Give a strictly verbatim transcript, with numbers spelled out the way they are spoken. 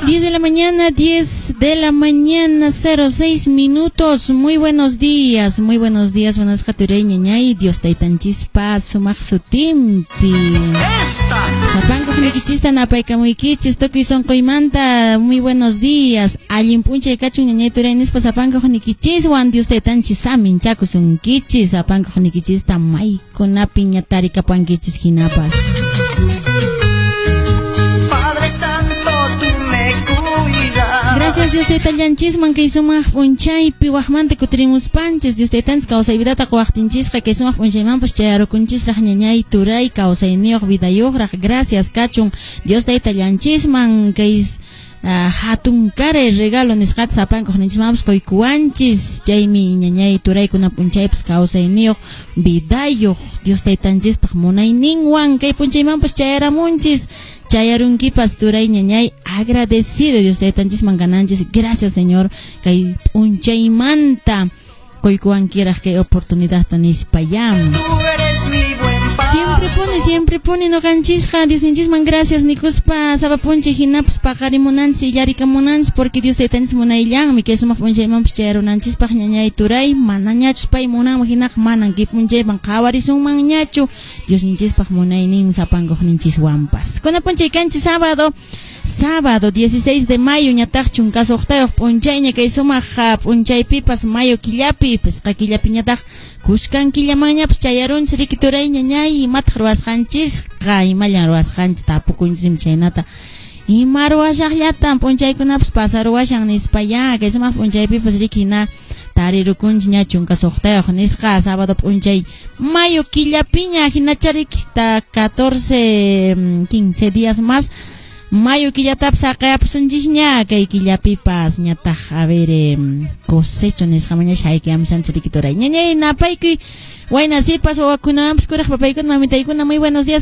diez de la mañana, diez de la mañana, cero seis minutos. Muy buenos días, muy buenos días, buenas turay, ñañay, Dios taytanchispa sumaq sutinpi. Esta Sapankuqniykichista napaykamuykichis, tukuy sunquymanta, muy buenos días. Allin p'unchay kachun, ñañay, turay nispa sapankuqniykichiswan Dios taytanchis saminchakusunkichis, sapankuqniykichista maykunapi ña tarikapankichis hinapas. Padre Santo, tú me cuidas. Gracias Dios taytallanchisman kay sumaq p'unchaypi waqmanta kutirimuspanchis. Dios taytanchis kawsay vidata quwaqtinchisqa kay sumaq p'unchaymanpas chayarukunchisraq, ñañay, turay, kawsayniyuq vidayuqraq. Gracias kachun Dios taytallanchisman kay uh, hatun karay regalo nisqata sapankuqninchismanpas quykuwanchis. Chaymi, ñañay, turaykuna, p'unchaypas kawsayniyuq vidayuq Dios taytanchispaq munayninwan kay p'unchaymanpas chayaramunchis, chayarunkipas, turay, ñañay. Agradecido Dios taytanchisman kananchis. Gracias, Señor, kay p'unchaymanta quykuwankiraq kay oportunidadta nispa ya. Tú eres mi buen Siempre pone, siempre pone noqanchisqa Diosninchisman gracias nikuspa sapa p'unchay hinapas paqarimunanchis, illarikamunanchis, porque Dios taytanchis munayllanmi kay sumaq p'unchaymanpas chayarunanchispaq, ñañay, turay. Manañachus pay munanman hinaqa manan kay p'unchayman qhawarisunmanñachu. Diosninchispaq munaynin sapankuqninchiswanpas. Kuna p'unchay kanchis sábado, sábado dieciséis de mayo, ñataq chunka suqtayuq p'unchayña kay sumaq p'unchaypipas mayo killapi, pisqa killapiñataq kuskan killamanñapas chayarunchis riki, turay, ñañay. Imataq ruwasqanchisqa? Imallan ruwasqanchis? Tapukunchismi chaynata, ima ruwashaqllatan p'unchaykunapas pasaruwashan nispa ya. Kay sumaq p'unchaypipas riki hina tarirukunchis ña chunka suqtayuq nisqa sábado p'unchay mayo killapiña hinacha riki, ta catorce, quince días más mayo killatapas saqayapusunchisña. Kay killapipas ñataq, a ver, eh, cosecho nisqamaña shaykayamushanchis riki, turay, ñañay. Napaykuy wayna sipas wawakunawanpas kuraq papaykuna mamitaykuna, muy buenos días.